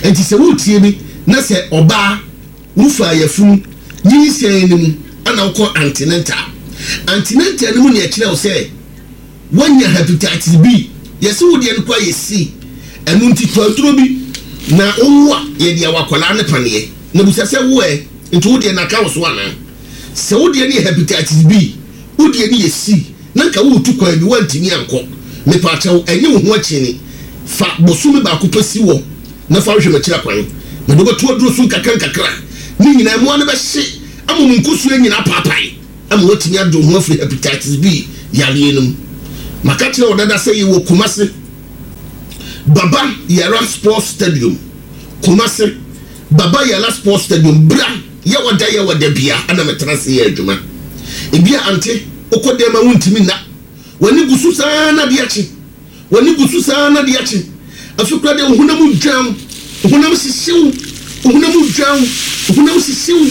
Enti sɛ woretie me na sɛ ɔbaa wofaa yafunu nyinsɛn no mu ana wokɔ antenatal. Antenatal no mu na yɛkyerɛ wo sɛ woanya hepatitis B. Yɛse wo deɛ no koraa yɛ C. Ɛno nti tɔ aduro bi na wowo a yɛde awɔ akwadaa no paneɛ. Na bisa sɛ wo ɛ, nti wo deɛ no aka wo so anaa? Sɛ wo deɛ no yɛ hepatitis B, wo deɛ no yɛ C na nka woretu kwan bi woantumi ankɔ. Mepaakyɛw ɛnye wo ho akyini. Fa bosome baako pɛ si hɔ na fa hwehwɛ m'akyira kwan. Mede wo bɛto aduro so nkakrankakra. Ne nyinaa mmoa no bɛhye ama mo nkosua nyinaa apaapae ama woatumi ade wo ho afiri hepatitis B yareɛ no mu. Maka kyerɛ wo dada sɛ yɛwɔ Kumasi Baba Yara Sports Stadium. Kumasi Baba Yara Sports Stadium. Bra Yɛwɔ da yɛwɔ da bia na metena ase yɛ adwuma. Ebia ante wokɔ dɛm a wontumi nna. W'ani gu so saa na ade akye. W'ani gu so saa na ade akye. Afei koraa deɛ wo honam dwan wo, wo honam hyehye wo, wo honam dwan wo, wo honam hyehye wo.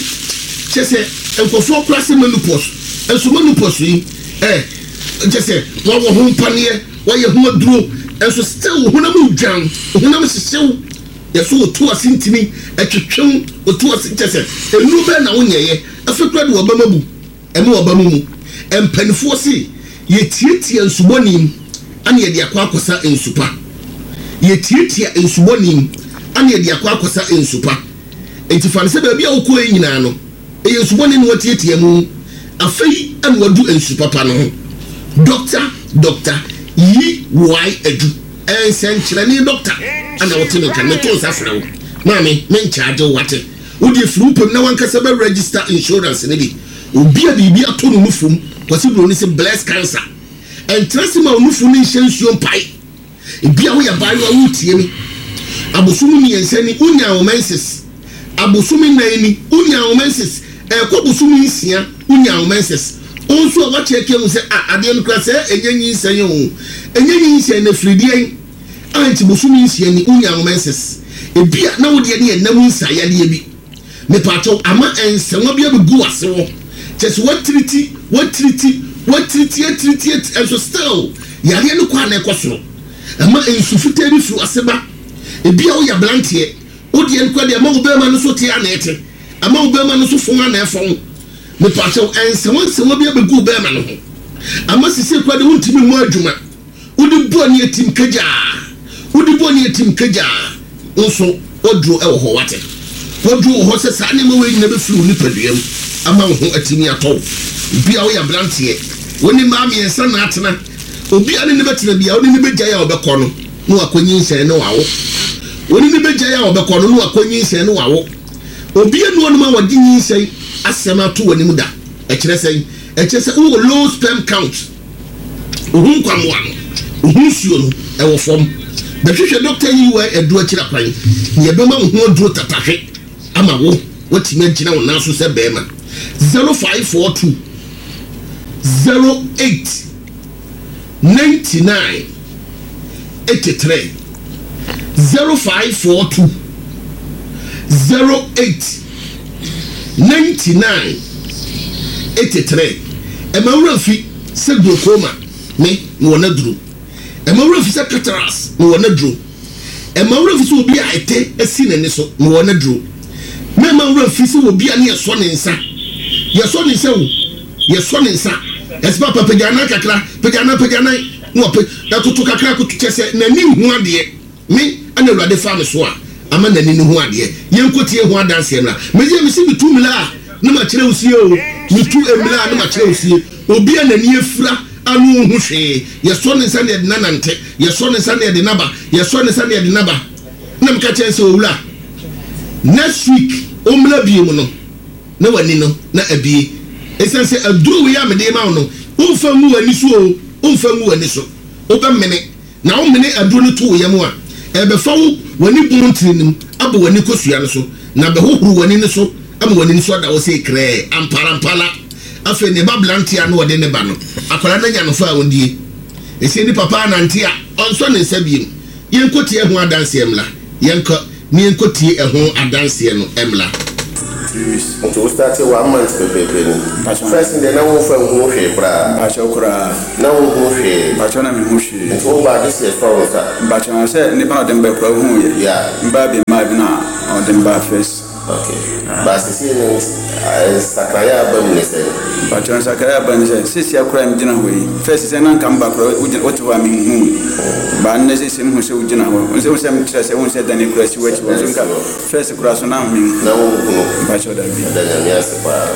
Kyerɛ sɛ nkurɔfoɔ koraa sɛ menopause. Nso menopause yi eh, kyerɛ sɛ wɔawɔ ho mpaneɛ, wɔayɛ ho aduro, nso still wo honam dwan wo, wo honam hyehye wo. Yɛso wo to ase ntini ɛtwetwe wo, wo to ase kyerɛ sɛ nnuro bɛn na wonyɛeɛ, afei koraa de w'abam abu ɛne w'abam mu. Mpanifoɔ se yɛtiatia nsubɔne mu ana yɛde akɔ akɔsa nsu pa. Yɛtiatia nsubɔne mu ana yɛde akɔ akɔsa nsu pa. Enti fa no sɛ baabi a wokɔeɛ nyinaa no, Ɛyɛ nsu bɔne na watiatia mu. Afei na wadu nsu papa no ho. Dɔkta, dɔkta, yi Y adu. Nsɛnkyerɛnne dɔkta na wote me nka no. Meto nsa frɛ wo. Maame, menkyagye wo, wate? Wo deɛ firi wo pɛ mu na w'ankasa bɛ register insurance no bi. Obi a biribi atɔ no nufu mu, Kwasi Broni se bless cancer. Ɛntena ase ma wo nufu no nhyɛ nsuo mpae. Ebia woyɛ abaayewa woretie me. Abosome mmiɛnsa ni wonyaa wo menses. Abosome nnan ni wonyaa wo menses. Ɛrekɔ bosome nsia wonyaa wo menses. Wo nso a woakyɛɛke ahu sɛ ah adeɛ no koraa sɛɛ ɛnyɛ nyinsɛn oo. Ɛnyɛ nyinsɛn na ɛfiri deɛn a nti bosome nsia ni wonyaa wo menses. Ebia na wo deɛ no yɛ nna mu nsaeyadeɛ bi. Mepaakyɛw ama nsɛnwa bi abɛgu w'ase hɔ. Kyerɛ sɛ woatiriti, woatiriti, woatiriti, atiriti, atiriti, nso still yareɛ no kɔ a na ɛkɔ soro. Ɛma nsu fitaa bi firi w'ase ba. Ebia woyɛ aberanteɛ, wo deɛ no koraa deɛ ɛma wo bɛrima no so te a na ɛte, ɛma wo bɛrima no so fɔn a na ɛfɔn. Mepaakyɛw nsɛnwa nsɛnwa bi abɛgu wo bɛrima no ho. Ama sisei koraa deɛ wontumi mmɔ adwuma. Wode bu ani atim kagyaa. Wode bu ani atim kagyaa. Wo nso, w'aduro wɔ hɔ, woate? W'aduro wɔ hɔ sɛ saa nneɛma wei nyinaa bɛfiri wo nipadua mu ama wo ho atumi atɔ wo. Ebia woyɛ aberanteɛ, wo ne mmaa mmiɛnsa na atena. Obi a ne ne bɛtena biara, wo ne no bɛgyae a ɔbɛkɔ no, na wakɔnyinsɛn na wawo. Wo ne no bɛgyae a ɔbɛkɔ no, na wakɔnyinsɛn na wawo. Obi nni hɔnom a wɔde nyinsɛn asɛm ato w'anim da. Ɛkyerɛ sɛn? Ɛkyerɛ sɛ wowɔ low sperm count. Wo ho nkwammoa no, wo ho nsuo no, ɛwɔ fam. Bɛhwehwɛ Dɔkta Yiwai Adu akyiri akwan, na yɛbɛma wo ho aduro tatahwe ama wo woatumi agyina wo nan so sɛ barima. 0542 08 99 83 0542 08 99 83 Ɛma wo werɛ fi sɛ glaucoma me mewɔ n'aduro. Ɛma wo werɛ fi sɛ cataracts mewɔ n'aduro. Ɛma wo werɛ fi sɛ obi a ɛtɛ asi n'ani so mewɔ n'aduro. Mɛma wo werɛ fi sɛ obi a ne yɛsɔ ne nsa yɛsɔ ne nsa o yɛsɔ ne nsa ɛsɛ papa pagya nan kakra pagya nan pagya nan na wapɛ ɛkoto kakra koto kyɛ sɛ n'ani nhu adeɛ. Me na Awurade faa me so a ama n'ani no hu adeɛ. Yɛnkɔtie ho adanseɛ mmra. Medeɛ mese metu mmira a na makyerɛ wo sie o, metu mmira a na makyerɛ wo sie. Obi a n'ani afira a na ɔnhu hwee, yɛsɔ ne nsa na yɛde no anante, yɛsɔ ne nsa na yɛde no aba, yɛsɔ ne nsa na yɛde no aba. Na meka kyerɛ no sɛ, Owura, next week ɔmmra bio no, na w'ani no na abue. Ɛsiane sɛ aduro wei a mede rema wo no, womfa ngu w'ani so o, womfa ngu w'ani so, wobɛmene. Na womene aduro no to wo yam a, ɛrebɛfa wo w'ani bɔn ntini no mu abɔ w'ani kosua no so, na abɛhohoro w'ani no so ama w'ani no so ada hɔ sei krɛɛ. Amparampala! Afei ne ba aberanteɛ a na ɔde ne ba no, akwadaa no anya no fa a ɔndie. Ɛsei ne papa anante a, ɔnsɔ ne nsa biom. Yɛnkɔtie ɛho adanseɛ mmra. Yɛnkɔ na yɛnkɔtie ɛho adanseɛ no mmra. Nti wo starte one month pɛpɛɛpɛ ni. First no deɛ na wo nfa nhunu hwee koraa. Mpakyɛw koraa. Na wo nhunu hwee. Mpakyɛw na me hu hwee. Nti wo baa gye sɛ yɛsɔ wo nsa. Mpakyɛw na sɛ nipa na ɔde me bae koraa ohuu yɛ. Yeah. Me baa bi maa. mmaa bi na ɔde me baa first. Ok. Ba seesei no nsakraeɛ a aba mu ne sɛn? Mpakyɛw nsakraeɛ a aba ne sɛ, seesei koraa a megyina hɔ yi, first sɛ na nka meba koraa wogyina wote hɔ a menhu wo. Ba nnɛ seesei mehu sɛ wogyina hɔ. Wo sɛ mekyerɛ sɛ wohu sɛ dan koraa si w'akyi hɔ nso nka first koraa so na menhu. Na wonhunu. Mpakyɛw dabi. Yɛda Nyame ase paa.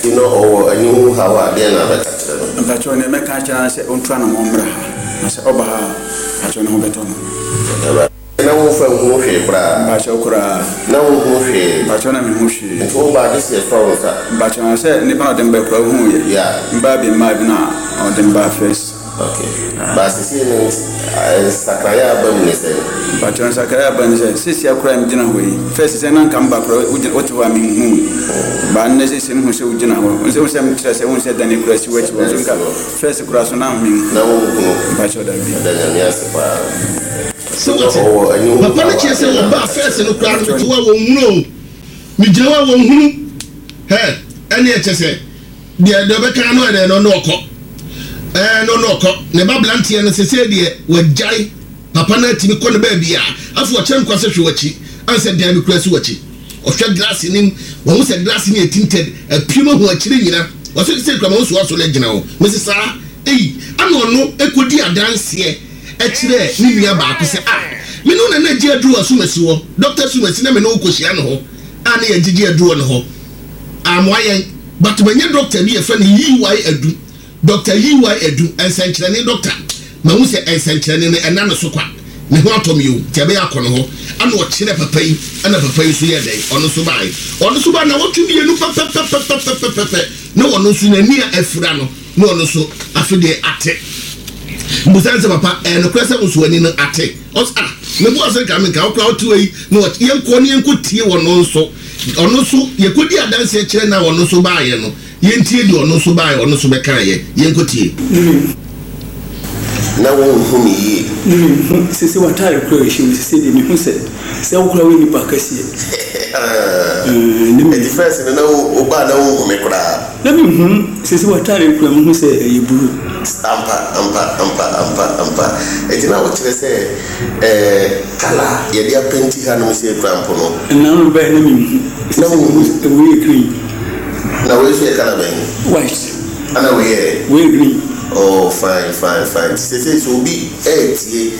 Nti no ɔwɔ ani ho haw a deɛn na wobɛka kyerɛ no? Mpakyɛw nea mɛka akyerɛ no ara ne sɛ ɔntu anamɔn mmra ha. Na sɛ ɔba ha a, mpakyɛw ne ho bɛtɔ no. Awurade. Na womfa nhu hwee koraa. Mpakyɛw koraa. Na wonhu hwee. Mpakyɛw na menhu hwee. Nti wo baa gye sɛ yɛsɔ wo nsa. Mpakyɛw na sɛ nipa na ɔde me bae koraa wohuu yɛ. Yeah. Mbaa bi mmaa bi na ɔde me baa first. Okay. But sesei no nsakraeɛ a aba mu ne sɛn? Mpakyɛw nsakraeɛ a aba ne sɛ sesia koraa a megyina hɔ yi first sɛ na nka meba koraa wogyina wote hɔ a menhu wo. But nnɛ sesei mehu sɛ wogyina hɔ. Wo sɛ mekyerɛ sɛ wohu sɛ dan koraa si w'akyi hɔ nso nka first koraa so na menhu. Na wonhunu. Mpakyɛw dabi. Yɛda Nyame ase paa. Sɛ wote? Papa no kyerɛ sɛ wɔbaa fɛs no koraa no mete hɔ a wɔnhunu o. Megyina hɔ a wɔnhunu. Hɛ, ɛneɛ kyɛ sɛ deɛ deɛ ɔbɛka no ɛnɛ no na ɔkɔ. Ɛɛ no na ɔkɔ. Ne ba beranteɛ no sesei deɛ wagyae. Papa no atumi kɔ ne baabi a afei ɔkyerɛ no kwa sɛ hwɛ w'akyi ansɛ dan bi koraa si w'akyi. Ɔhwɛ glass no mu, wahu sɛ glass no yɛ tinted, apue mu ahu akyire nyina. Ɔse sesei koraa mahu sɛ wasɔre agyina hɔ. Mese saa? Ei, ɛna ɔno kɔdi adanseɛ. kyerɛɛ ne nua baako sɛ, Ah, me ne wo na na gye aduru wɔ asumasi hɔ. Dɔkta Asumasi na me ne wo kɔhyia no hɔ a na yɛgyegye aduru wɔ ne hɔ. Ammoa yɛn. But manya dɔkta bi yɛfrɛ no Yiwai Adu. Dɔkta Yiwai Adu, nsɛnkyerɛnne dɔkta. Mahu sɛ nsɛnkyerɛnne no ɛnna ne so kwa. Me ho atɔ me o, nti ɛbɛyɛ akɔ ne hɔ. Ɛna ɔkyerɛɛ papa yi, ɛna papa yi nso yɛɛ dɛn? Ɔno nso baeɛ. Ɔno nso baeɛ nnawɔtwe mmienu pɛpɛpɛpɛpɛpɛpɛ na ɔno nso n'ani a afira no, Na ɔno nso, afe deɛ ate. Mbusa no sɛ, Papa, ɛyɛ nokorɛ sɛ wo nso w'ani no ate? Ɔse, Ah, meboa sɛ nka menka, wo koraa wote hɔ yi, na ɔte. Yɛnkɔ na yɛnkɔtie ɔno nso. Ɔno nso, yɛkɔdii adanseɛ kyerɛ no a ɔno nso baeɛ no, yɛntie deɛ ɔno nso baeɛ, ɔno nso bɛkaeɛ. Yɛnkɔtie. Na wonhu me yie. Ne menhu sese w'ataare koraa ɛhyɛ wo sese deɛ mehu sɛ sɛ wo koraa woyɛ nipa kɛseɛ Ɛɛ ne Ɛti first no na wo ba a na wonhu me koraa. Na menhu sese w'ataare koraa mehu sɛ ɛyɛ blue. Ampa ampa ampa ampa ampa Ɛti na wokyerɛ sɛ ɛɛ colour a yɛde apɛnti hanom sei koraa mpo no. Ɛna no baɛ na menhu sese mehu sɛ wei yɛ green. Na wei nso yɛ colour bɛn? White. Ɛna wei yɛ? Wei yɛ green. Oh fine fine fine nti sesei sɛ obi ɛɛtie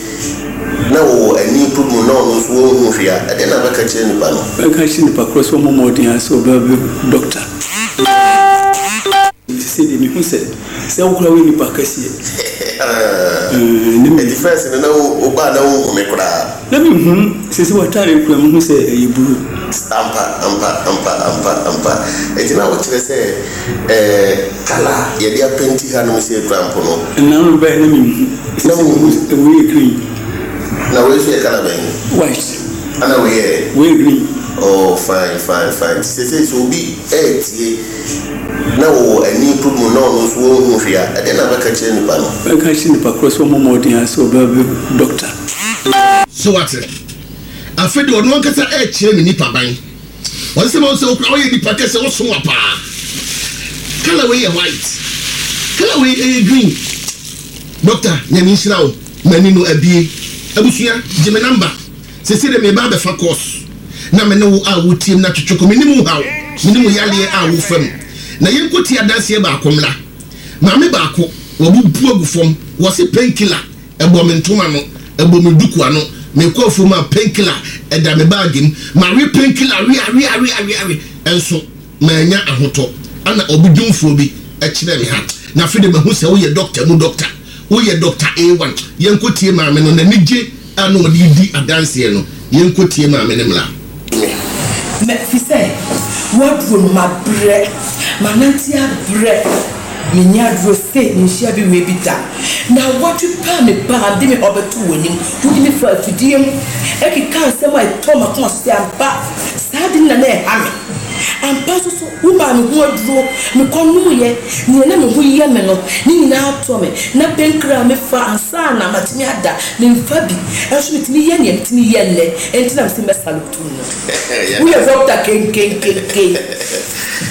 na ɔwɔ ani problem na ɔno nso ɔnhu hwee a ɛdeɛn na wobɛka kyerɛ nipa no? Mɛka akyerɛ nipa korɔ sɛ ɔmmɔ mmɔden ara sɛ ɔbɛbɛ doctor. Sesei deɛ mehu sɛ sɛ wo koraa woyɛ nipa kɛseɛ. Ɛnti first no na wo ba a na wonhu me koraa. Na menhu, sesei w'ataare koraa mehu sɛ ɛyɛ blue. Ampa ampa ampa ampa ampa Ɛnti na wokyerɛ sɛ ɛɛ colour a yɛde apɛnti hanom sei koraa mpo no. Ɛna no baɛ na menhu. Na wonhu. Wei yɛ green. Na wei nso yɛ colour bɛn? White. Ɛna wei yɛ? Wei yɛ green. Oh fine fine fine Nti sesei sɛ obi ɛɛtie na ɔwɔ ani problem na ɔno nso ɔnhu hwee a ɛdeɛn na wobɛka kyerɛ nipa no? Mɛka akyerɛ nipa korɔ sɛ ɔmmɔ mmɔden ara sɛ ɔbɛbɛ doctor. So wate? Afei de ɔno ankasa rekyerɛ me nipaban. Ɔse sɛ mahu sɛ wo koraa woyɛ nipa kɛsɛ, woso wa paa. Colour wei yɛ white, colour wei ɛyɛ green. Doctor, Nyame nhyira wo, m'ani no abue. Abusua, gye me number. Sesei de meba abɛfa course na me ne wo a wotie me no atwetwe kɔ. Menim wo haw, menim wo yareɛ a wofa mu. Na yɛnkɔtie adanseɛ baako mmra. Maame baako, wabubu agu fam, wɔse painkiller. Ɛbɔ me ntoma ano, ɛbɔ me duku ano. Mekɔ afuom a, painkiller da me baage mu. Mawe painkiller we awe awe awe awe nso mannya ahotɔ. Ɛna ɔbedwumfoɔ bi kyerɛɛ me ha. Na afei deɛ mahu sɛ woyɛ dɔkta mu dɔkta. Woyɛ dɔkta A1. Yɛnkɔtie maame no, n'anigye a na ɔde redi adanseɛ no. Yɛnkɔtie maame no mmra. Me. Me, fisɛ woaduro no mabrɛ, manante abrɛ. Menni aduro sei, menhyia bi wei bi da. Naawɔtwe pɛ a mebaa de me haw bɛtoo w'anim, wode me faa afidie mu kekaa nsɛm a ɛtɔɔ m'akoma so sɛ ampa saa ade no na na ɛha me. Ampa nso so, womaa me ho aduro, mekɔnomeeɛ, nea na me ho yɛ me no, ne nyinaa tɔ me. Na painkiller a mefa ansa na matumi ada, memfa bi. Nso metumi yɛ nea metumi yɛ nnɛ, enti na mese mɛsalute wo no. Woyɛ dɔkta kenkenkenken.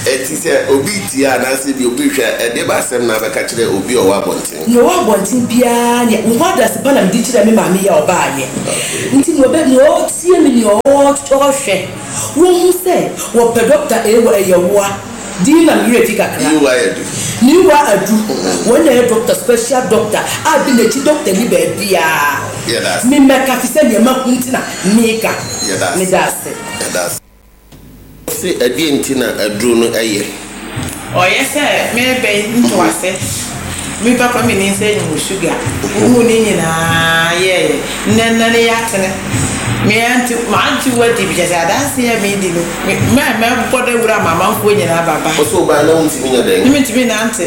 Enti sɛ obi retie anaasɛ ebia obi rehwɛ a, ɛdeɛ bɛn asɛm na wobɛka kyerɛ obi a ɔwɔ abɔnten? Nea ɔwɔ abɔnten biara, nea, wo ho adanse pa na mede kyerɛɛ me maame yi a ɔbaeɛ. Nti nea ɔbɛ, nea ɔretie me, nea ɔrehwɛ, wɔhu sɛ wɔpɛ dɔkta A wɔ ɛyɛ woa. Din na me werɛ fi kakra. Niwa Adu. Niwa Adu, wɔn na ɛyɛ dɔkta, special dɔkta a bi n'akyi dɔkta nni baabiara. Yɛda ase. Me mɛka fi sɛ nea mahu nti na meka. Yɛda ase. Meda ase. Yɛda ase. Ɔse ɛdeɛn nti na aduro no yɛ? Ɔyɛ sɛ merebɛn ntoase me papa me nim sɛ mewɔ sugar wohuu ne nyinaa yɛɛyɛ nnɛ nnɛ ne yɛatene me ante mante wadi bi kyɛ sɛ adanseɛ a medi no me mɛ mɛbɔ dawuro ama amanfoɔ nyinaa ba ba. Ɔse wobaeɛ na wontumi nyɛ dɛn? Ne mentumi nante.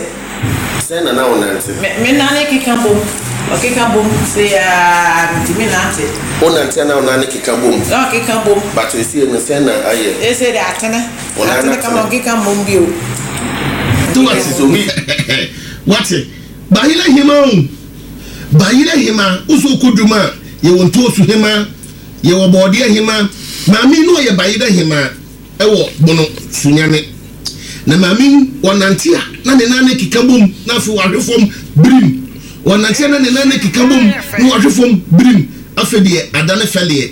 Sɛn na na wonante? Me me nane keka bom, ɔkeka bom sei aa mentumi nante. Wonante a na wo nane keka bom? Na ɔkeka bom. But seesei no sɛn na ayɛ? Seesei deɛ atene. Wo nan Atene kama atene. ɔnkeka mmom bio. Nti Ɔnkeka wate mmom. sɛ obi wate bayerɛ hema o bayerɛ hema wo sɛ wokɔ dwom a yɛwɔ ntoosu hema yɛwɔ bɔɔdeɛ hema maame yi na ɔyɛ bayerɛ hema wɔ Bono Sunyani. Na maame yi, ɔnante a, na ne nan no keka bom, na afei wahwe fam birim. Ɔnante a, na ne nan no keka bom, na wahwe fam birim. Afei deɛ, adane fɛleɛ.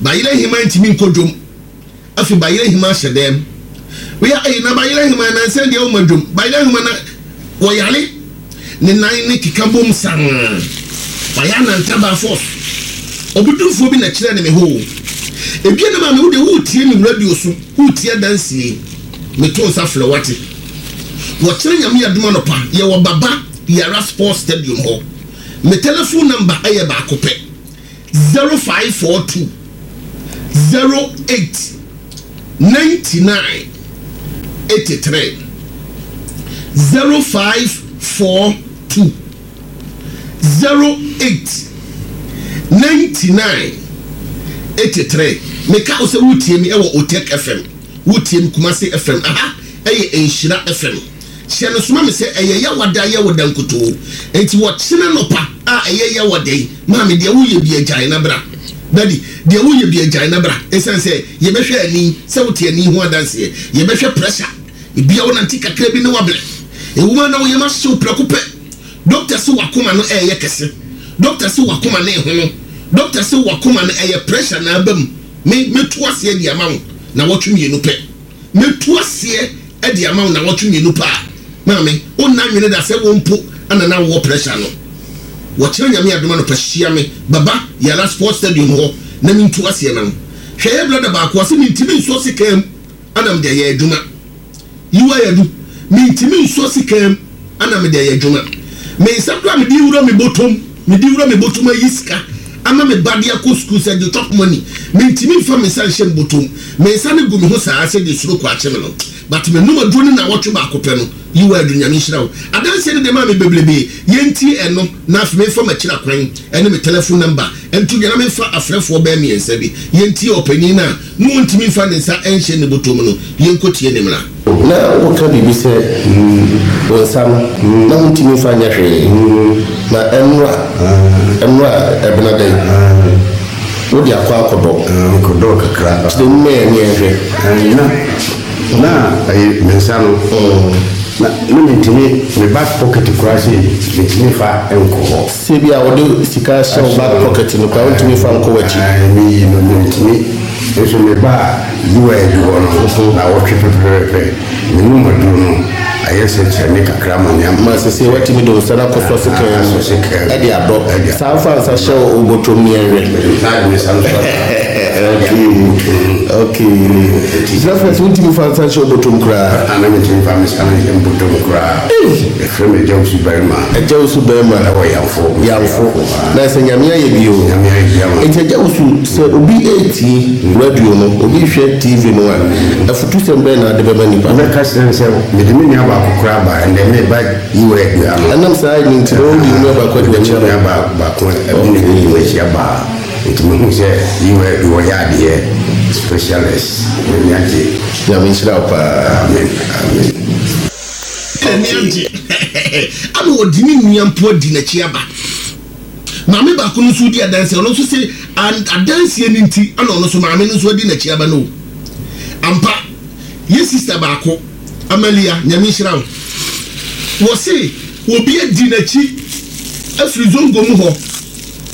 Bayerɛ Hemaa ntumi nkɔ dwom. Afei Bayerɛ Hemaa hyɛ dɛm. Wia ei, na Bayerɛ Hemaa nansa deɛ woma dwom. Bayerɛ Hemaa na wɔyare. Ne nan no keka bom saa. Wayɛ anantabaa force. Ɔbodwumfoɔ bi na kyerɛɛ no me hɔ o. Ebia na maame wo deɛ woretie me radio so, woretie adansie. Meto nsa frɛ wo wate. Wɔkyerɛ Nyame adom anɔpa, yɛwɔ Baba Yara Sports Stadium hɔ. Me telephone number yɛ baako pɛ, 0542 08 99 83 0542 08 99 83 Meka wo sɛ woretie me wɔ Otec FM, woretie me Kumasi FM, aha ɛyɛ Nhyira FM. Hyɛ no soma me sɛ ɛyɛ Yawada Yawada nkutoo. Enti wɔkyena nɔpa a ɛyɛ Yawada yi, maame deɛ woyɛ bia gyae na bra. Daddy, deɛ woyɛ bia gyae na bra. Esiane sɛ yɛbɛhwɛ ani, sɛ wote ani ho adanseɛ, yɛbɛhwɛ pressure. Ebia wonante kakra bi na woabrɛ. Ɛwom ara na wo yam ahye wo prɛko pɛ. Doctor se w'akoma no ɛreyɛ kɛse. Doctor se w'akoma no rehono. Doctor se w'akoma no ɛyɛ pressure na aba mu. Me, mɛtu aseɛ de ama wo nawɔtwe mmienu pɛ. Mɛtu aseɛ de ama wo nawɔtwe mmienu pɛ a, maame, wonna nwene da sɛ wo mpo na na wowɔ pressure no. Wɔkyena Nyame adom anɔpa hyia me Baba Yara Sports Stadium hɔ na mentu aseɛ ma wo. Hwɛ yɛ brother baako ɔse mentimi nsɔ sekan mu ana mede ayɛ adwuma. Yiwa Yadu, mentimi nsɔ sekan mu ana mede ayɛ adwuma. Me nsa koraa mede wura me bɔtɔm, mede wura me bɔtɔm ayi sika ama me ba de akɔ sukuu sɛ gye chop money. Mentimi mfa me nsa nhyɛ me bɔtɔm. Me nsa no gu me ho saa sɛdeɛ suro kɔ akye me no. But menom aduro no nnawɔtwe baako pɛ no, Yiwa Adu, Nyame nhyira wo. Adanseɛ no deɛ maa me bebrebe. Yɛntie ɛno na afei memfa m'akyiri akwan ne me telephone number nto dwa na memfa afrɛfoɔ bɛyɛ mmiɛnsa bi. Yɛntie ɔpanin no a na ɔntumi mfa ne nsa nhyɛ ne bɔtɔ mu no, yɛnkɔtie ne mmra. Na woka biribi sɛ, Wo nsa no, na wontumi mfa nyɛ hwee, na ɛnnora, ɛnnora ɛbena dɛn? Wode akɔ akɔdɔ. Mekɔdɔɔ kakra. Kyerɛ mu ma yɛn ne yɛnhwɛ. Na, na ɛyɛ me nsa no, na, na mentumi, me back pocket koraa sei, mentumi mfa nkɔ hɔ. Sɛ ebia wode sika hyɛ wo back pocket no koraa, wontumi mfa nkɔ w'akyi. Ae, meyi no, mentumi. Nso mebaa UAD hɔ no, naawɔtwe pɛpɛɛpɛ, menom aduro no, ayɛ sɛ kyerɛ kakra ma me ama. Ma sesei woatumi de wo nsa no akɔsɔ sekan mu de adɔ. Saa fa nsa hyɛ wo bɔtɔm ni ɛnhwɛ. Okay, okay. Nti first wontumi fa nsa nhyɛ wo bɔtɔm koraa? Ah, na mentumi fa me nsa no nhyɛ me bɔtɔm koraa. Ei! Yɛfrɛ me Agya Wusu Barima. Agya Wusu Barima. Ɛwɔ Yamfo. Yamfo. Na sɛ Nyame ayɛ bi o. Nyame ayɛ bi ama. Nti Agya Wusu, sɛ obi retie radio no, obi rehwɛ TV no a, afutusɛm bɛn na wode bɛma nnipa no? Mɛka kyerɛ no sɛ mede me nua baako koraa ba, ɛnnɛ mereba Yiwa Adua no. Ɛnam saa no nti na wode wo nua baako adi w'akyi aba? Mede me nua baako adi m'akyi aba. Nti mehu sɛ UI bi wɔyɛ adeɛ specialist m'ani agye. Nyame nhyira wo paa. Amen amen. N'ani agye ama ɔde ne nua mpo adi n'akyi aba. Maame baako no nso di adanseɛ, ɔno nso se adanseɛ no nti ɛna ɔno nso maame no nso adi n'akyi aba no o. Ampa, yɛ sista baako, Amalia, Nyame nhyira wo. Wɔse obi adi n'akyi afiri Zongo mu hɔ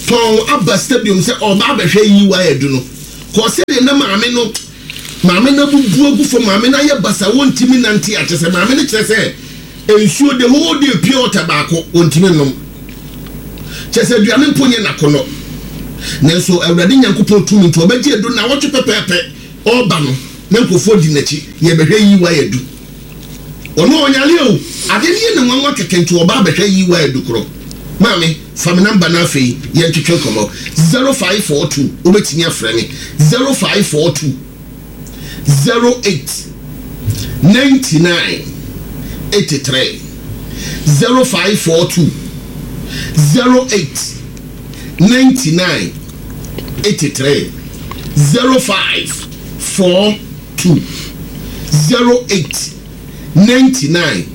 tɔn aba stadium sɛ ɔreba abɛhwɛ EY adu no. Kɔɔ sɛdeɛ na maame no maame no abubu agu fam, maame no ayɛ basa, wɔntumi nante a, kyerɛ sɛ maame no kyerɛ sɛ nsuo the whole day pure water baako wɔntumi nnom. Kyerɛ sɛ aduane mpo nyɛ n'akɔnnɔ. Nanso Awurade Nyankopɔn tumi nti ɔbɛgye adu nnawɔtwe pɛpɛɛpɛ ɔreba no na nkurɔfoɔ di n'akyi yɛbɛhwɛ EY adu. Ɔno ɔnyare o, ade no yɛ no nwanwa kɛkɛ nti ɔba abɛhwɛ EY adu korɔ. Maame, fa me number na afei yɛntwetwe nkɔmmɔ. 0542, wobɛtumi afrɛ me 0542 08 99 83 0542 08 99 83 0542 08 99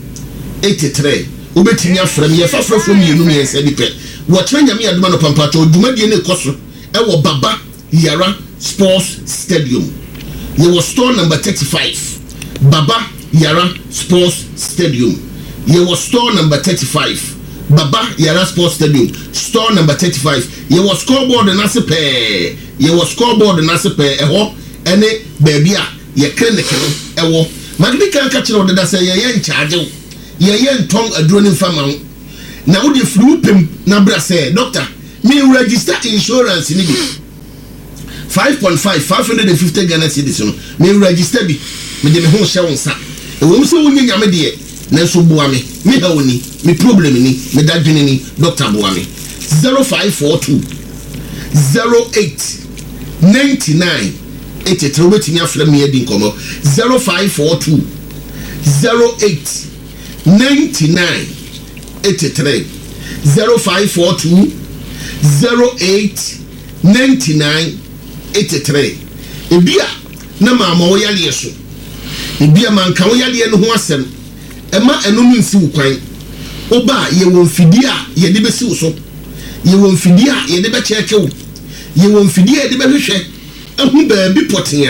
83 Wobɛtumi afrɛ me. Yɛfa frɛfoɔ mmienu mmiɛnsa bi pɛ. Wɔkyena Nyame adom anɔpa mpakyɛw dwumadie no rekɔ so wɔ Baba Yara Sports Stadium. Yɛwɔ store number 35 Baba Yara Sports Stadium. Yɛwɔ store number 35 Baba Yara Sports Stadium, store number 35. Yɛwɔ scoreboard no ase pɛɛ. Yɛwɔ scoreboard no ase pɛɛ. Ɛhɔ ne baabi a yɛ clinic no wɔ. Madi kan aka kyerɛ wo deda sɛ yɛyɛ nkyagye wo. Yɛyɛ ntɔn aduro no mfa ma wo. Na wo deɛ firi wo pɛ mu na bra sɛ, Doctor, me register insurance no bi. 5.5, 550 Ghana cedis no, me register bi. Mede me ho rehyɛ wo nsa. Ɛwom sɛ wonyɛ Nyame deɛ, nanso boa me. Me haw ni, me problem ni, me dadwene ni, Doctor boa me. 0542 08 99 83, wobɛtumi afrɛ me adi nkɔmmɔ. 0542 08 99 83 0542 08 99 83 Ebia na mamma wo yareɛ so, ebia manka wo yareɛ no ho asɛm, mma ɛno no nsi wo kwan. Woba a, yɛwɔ mfidie a yɛde bɛsi wo so, yɛwɔ mfidie a yɛde bɛkyɛɛke wo, yɛwɔ mfidie a yɛde bɛhwehwɛ ahu baabi pɔtee a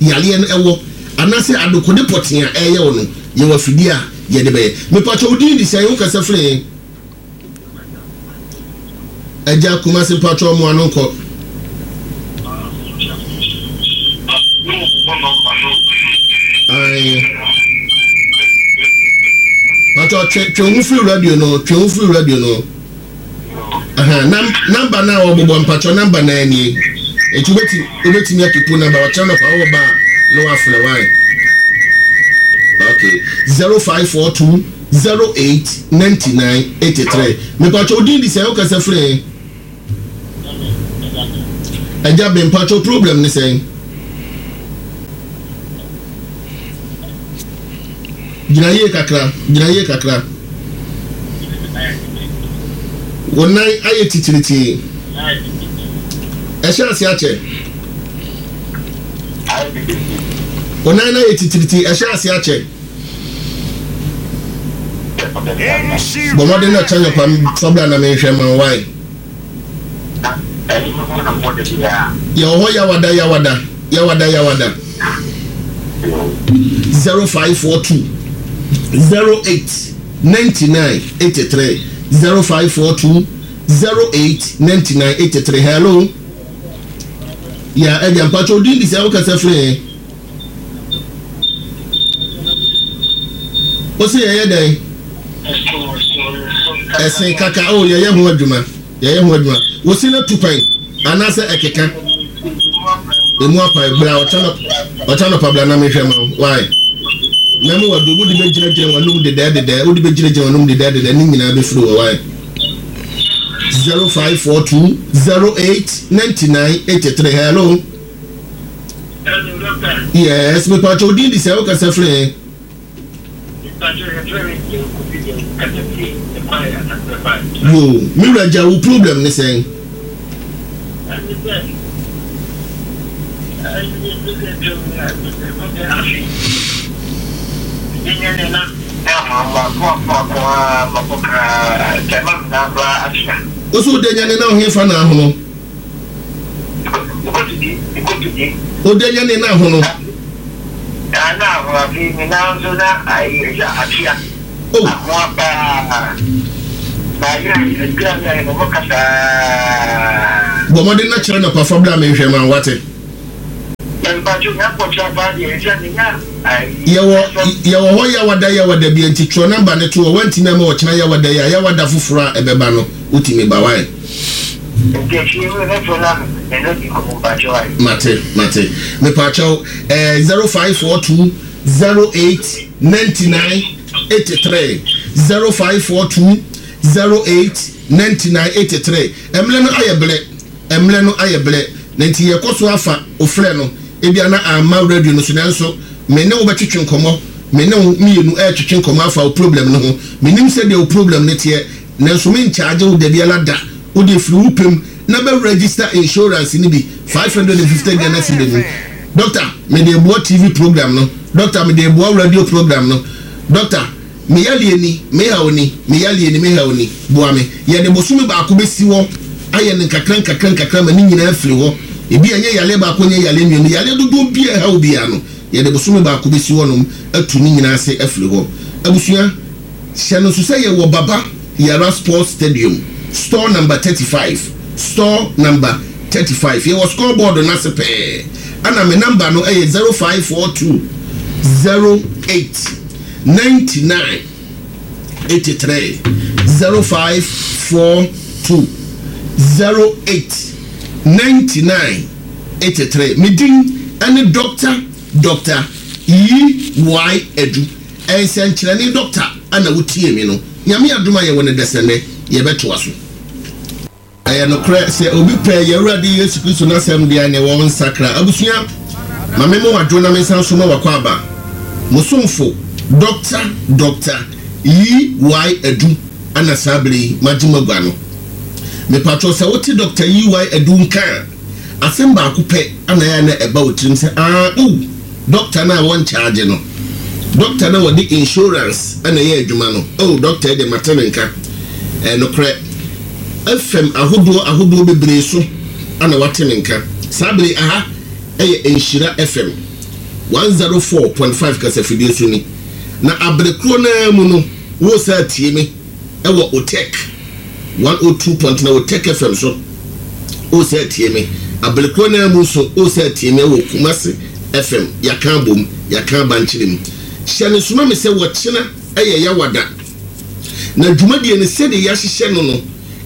yareɛ no wɔ anaasɛ adekode pɔtee a ɛreyɛ wo no, yɛwɔ afidie a yɛde bɛyɛ. Mepakyɛ wo din de sɛn? Wo kasa firi he? Agya Kumasi mpakyɛ ɔmo ano nkɔ. Ae. Pakyɛ twe twe ho firi radio no, twe ho firi radio no. Aha, nam namba no a wɔbobɔ mpakyɛ namba no nie. Enti wobɛtumi wobɛtumi akipu namba ɔkyerɛ no pa wowɔ ba a na wafrɛ wae. Okay, 0542 08 99 83. Mepakyɛ odin di sɛ wokasa firi he? Agya Ben mpakyɛ problem ne sɛn? Gyina yie kakra, gyina yie kakra. Wo nan ayɛ titiritii. Ɛhyɛ ase akyɛ. Wo nan no ayɛ titiritii, ɛhyɛ ase akyɛ. Bɔ mmɔden na kyɛ nyɔkwa fa bra na menhwɛ ma wo wae. Yɛwɔ hɔ yawada yawada yawada yawada. 0542 08 99 83 0542 08 99 83 Hello. Ya ɛgya mpatsɔ odin di sɛ wokasa firi he? Wose yɛyɛ dɛn? Ɛsen kaka o yɛyɛ ho adwuma yɛyɛ ho adwuma. Wose no tu kwan anaasɛ ɛkeka? Emu apae bra ɔkyɛ nɔpa bra na mehwɛ ma wo why? Mɛmo wadu wode bɛgyinagyina w'anum dedɛɛ dedɛɛ wode bɛgyinagyina w'anum dedɛɛ dedɛɛ ne nyinaa bɛfiri wɔ why? 0542 08 99 83 hello. Yes, me pacho odin di sɛ wokasa firi he? Yo, me wura gya wo problem ne sɛn? Ɛne sɛ, ɛne sɛ twam na ɛkɔpɛ afe. Yɛnyɛ ne na makoakoakoa makɔ koraa sɛ ma mena koraa atena. Wo so wode nyane na ɔhefa na ahono? Mekɔtodi, mekɔtodi. Wode nyane na ahono? Na ahono afei me nan nso na ayɛ atua. Oh. Ahoa paa. Na yɛ adwuma yɛ ayɛ mo kasa. Bɔ mmɔden na kyerɛ nɔpa fa bra menhwɛ ma wate. Mpacho nya kɔkyerɛ paa deɛ ɛsɛ menya ayi. Yɛwɔ yɛwɔ hɔ yawada yawada bi nti twerɛ namba no to hɔ wantumi ama ɔkyena yawada yi a yawada foforɔ a ɛbɛba no wotumi ba wae. Nti akyire yi mɛfrɛ na me ne di nkɔmmɔ mpacho wae. Mate mate mepaakyɛw ɛɛ 0542 08 99 83 0542 08 99 83 Mmerɛ no ayɛ blɛ Mmerɛ no ayɛ blɛ Na nti yɛkɔ so afa wo frɛ no Ebia na amma radio no so Nanso me ne wo bɛtwetwe nkɔmmɔ Me ne wo mmienu ɛretwetwe nkɔmmɔ afa wo problem no ho Mennim sɛdeɛ wo problem no teɛ Nanso menkyagye wo dabiara da Wo deɛ firi wo pɛ mu na bɛ register insurance no bi 550 Ghana cedi no Doctor, mede reboa TV program no. Doctor, mede reboa radio program no. Doctor, me yareɛ ni, me haw ni, me yareɛ ni, me haw ni, boa me. Yɛde bosome baako bɛsi hɔ ayɛ no nkakra nkakra nkakra ma ne nyinaa afiri hɔ. Ebia ɛnyɛ yareɛ baako, ɛnyɛ yareɛ mmienu, yareɛ dodoɔ bi a ɛha wo biara no, yɛde bosome baako bɛsi hɔnom atu ne nyinaa ase afiri hɔ. Abusua. Hyɛ no nso sɛ yɛwɔ Baba Yara Sports Stadium, store number 35, store number 35. Yɛwɔ score board no ase pɛɛ. Ɛna me number no yɛ 0542 08 99 83, 0542 08 99 83. Me din ne Doctor Doctor E Y Adu. Nsɛnkyerɛnne dɔkta na wo tie me no Nyame adom a yɛwɔ no dɛsɛnnɛ yɛbɛtoa so. Ɛyɛ nokorɛ sɛ obi pɛ yɛn Awurade Yesu Kristo n'asɛm deɛ a neɛ wɔnsakra. Abusua, ma me mo adwo na me nsan so ma w'akwaaba, mo somfo Dɔkta Dɔkta E. Y. Adu ana saa berɛ yi magye m'agua no. Mepakyɛw sɛ wote Dɔkta E. Y. Adu nka a, asɛm baako pɛ ana ɛyɛ a na ɛba wo tirim sɛ aah oh, Doctor no a wɔnkyagye no, doctor no a wɔde insurance na ɛyɛ adwuma no, oh doctor yi deɛ mate ne nka. Ɛyɛ nokorɛ. FM ahodoɔ ahodoɔ bebree so na wate me nka. Saa bere yi aha yɛ Nhyira FM 104.5 kasafidie so ni. Na abere korɔ no ara mu no, woresan atie me wɔ Otec 102.9 Otec FM so. O sɛ tie me. Abere korɔ no ara mu nso, O sɛ tie me wɔ Kumasi FM, yɛaka abom, yɛaka abankyere mu. Hyɛ no nso ma me sɛ wɔkyena yɛ Yawada. Na dwumadie no sɛdeɛ yɛahyehyɛ no no,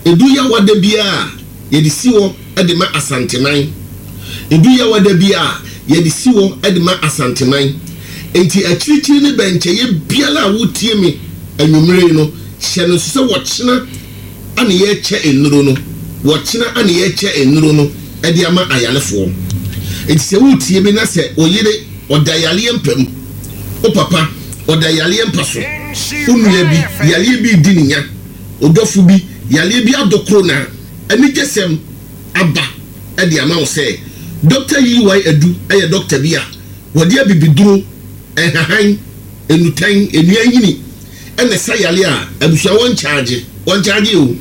ɛdu Yawada biara a, yɛde si hɔ de ma Asanteman. Ɛdu Yawada biara a, yɛde si hɔ de ma Asanteman. Enti akyirikyiri ne bɛnkyɛeɛ biara a wotie me anwummere yi no, hyɛ no nso sɛ wɔkyena a na yɛrekyɛ nnuro no, wɔkyena a na yɛrekyɛ nnuro no de ama ayarefoɔ. Enti sɛ woretie me na sɛ wo yere ɔda yareɛ mpa mu, wo papa ɔda yareɛ mpa so, wo nua bi yareɛ bi redi ne nya, wo dɔfo bi yareɛ bi adokoro no a, anigyesɛm aba de ama wo sɛ Dɔkta EY Adu yɛ dɔkta bi a wɔde abibiduro, nhahan, nnutan, nnua nhini, na ɛsa yare a, abusua wɔnkyagye, wɔnkyagye o,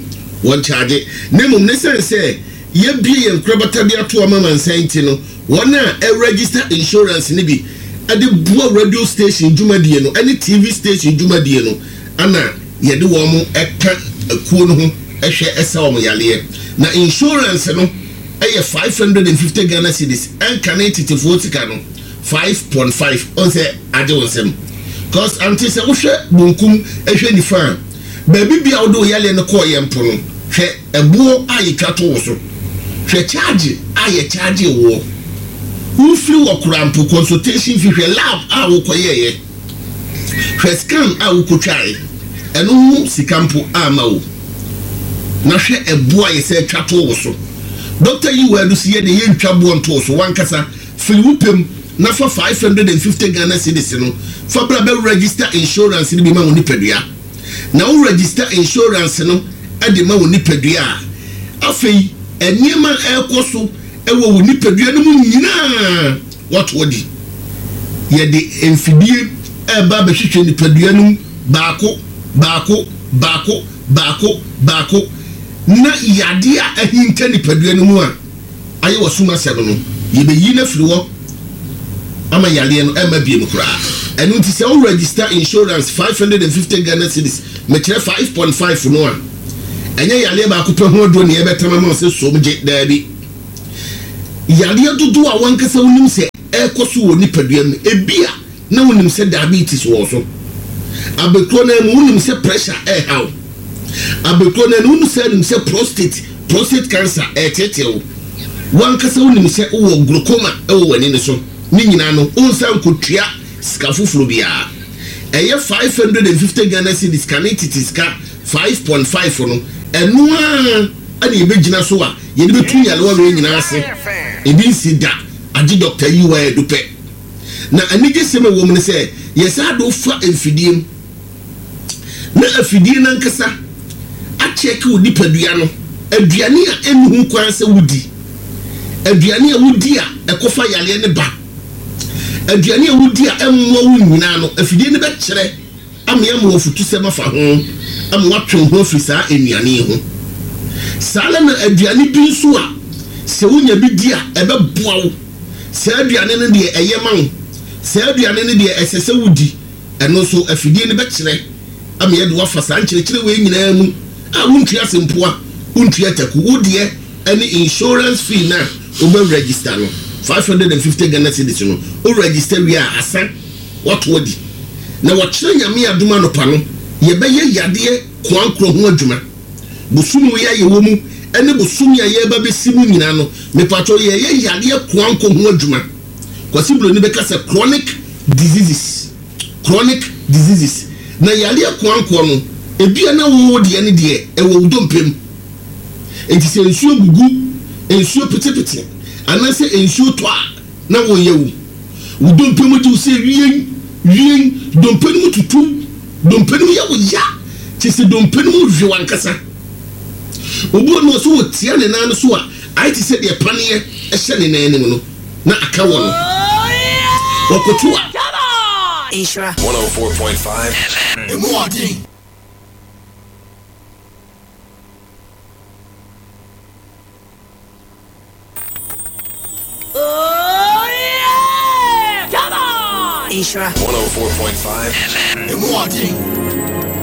wɔnkyagye. Na mmom no esiane sɛ yɛabue yɛn nkorabata de ato ama amansan nti no, wɔn a ɛregister insurance no bi de boa radio station dwumadie no ne TV station dwumadie no ana yɛde wɔn ka akuo no ho hwɛ sa wɔn yareɛ. Na insurance no yɛ 550 Ghana cedis, ɛnkane tetefoɔ sika no. 5.5 ɔn sɛ agye wo nsam cause ante sɛ wohwɛ bonkum hwɛ nifa a baabi bia wode wo yareɛ no kɔɔ yɛ mpo no hwɛ ɛboɔ a yɛtwa to wo so hwɛ charge a yɛ charge woɔ wofiri wɔ koraa mpo consultation fee hwɛ lab a wokɔyɛɛyɛ hwɛ scan a wokɔtwae ɛno ho sika mpo ama wo na hwɛ ɛboɔ a yɛsɛ twa to wo so Doctor yi wɔ adusi yɛ de yɛntwa boɔ nto wo so wankasa Firi wo pɛ mu na fa 550 Ghana cedis no fa bra bɛ register insurance no bi ma wo nipadua. Na wo register insurance no de ma wo nipadua a, afei. nneɛma a ɛrekɔ so wɔ wo nipadua no mu nyinaa woato adi. Yɛde mfidie reba abɛhwehwɛ nipadua no mu baako, baako, baako, baako, baako, na yadeɛ a ahinta nipadua no mu a ayɛ w'asom asɛm no, yɛbɛyi no afiri hɔ ama yareɛ no ɛmma biom koraa. Ɛno nti sɛ wo register insurance 550 Ghana cedis, mekyerɛ 5.5 no a, ɛnyɛ yareɛ baako pɛ ho aduro na yɛbɛtam ama wo sɛ som gye, daabi. Yareɛ dodoɔ a w'ankasa wonim sɛ ɛrekɔ so wɔ nipadua mu, ebia na wonim sɛ diabetes wɔ wo so, abɛkorɔ no ara mu wonim sɛ pressure ɛreha wo, abɛkorɔ no ara mu wosan nim sɛ prostate, prostate cancer ɛreteetee wo, w'ankasa wonim sɛ wowɔ glaucoma wɔ w'ani no so, ne nyinaa no wonsan nkɔtua sika foforɔ biara. Ɛyɛ 550 Ghana cedis kane tete sika 5.5 no, ɛno ara na yɛbɛgyina so a yɛde bɛtu nyarewa wei nyinaa ase. Ebi nsi da, agye Dɔkta Yiwa Adu pɛ. Na anigyesɛm a ɛwɔ mu ne sɛ, yɛsan de wo fa mfidie mu, na afidie no ankasa akyɛke wo nipadua no, aduane a ɛnni ho kwan sɛ wodi, aduane a wodi a ɛkɔfa yareɛ no ba, aduane a wodi a ɛmmoa wo nyinaa no, afidie no bɛkyerɛ ama yɛama wo afutusɛm afa ho ama woatwe wo ho afiri saa nnuane yi ho. Saa ara na aduane bi nso a sɛ wonya bi di a ɛbɛboa wo. Saa aduane no deɛ ɛyɛ ma wo, saa aduane no deɛ ɛsɛ sɛ wodi, ɛno nso afidie no bɛkyerɛ ama yɛde wo afa saa nkyerɛkyerɛ wei nyinaa mu a wontua sempoa, wontua taku, wo deɛ ɛne insurance fee no a wobɛ register no, 550 Ghana cedis no, wo register wie a asa. Wɔato adi. Na wɔkyerɛ Nyame adom anɔpa no yɛbɛyɛ yadeɛ koankorɔ ho adwuma. Bosome wei a yɛwɔ mu ɛne bosome a yɛreba bɛsi mu nyinaa no mepakyɛw yɛreyɛ yadeɛ koankɔ ho adwuma. Kwasi Broni bɛka sɛ chronic diseases, chronic diseases. Na yareɛ koankorɔ no ebia na wo deɛ no deɛ ɛwɔ wo dompe mu. Enti sɛ nsuo gugu, nsuo petepete anaasɛ nsuo tɔ a, na wɔyɛ wo. Wo dompe mu gye wo sɛ wien, wien, dompe no mu tutu, dompe no mu yɛ wo ya, kyerɛ sɛ dompe no mu hwe w'ankasa. Obi wɔ no sɛ ɔtia ne nan no so a, ayɛ te sɛ deɛ paneɛ hyɛ ne nan anim no, na aka wɔ no. Ɔkoto a. Nhyira. 104.5 FM. Emu ɔden. Nhyira. 104.5 FM. Emu ɔden.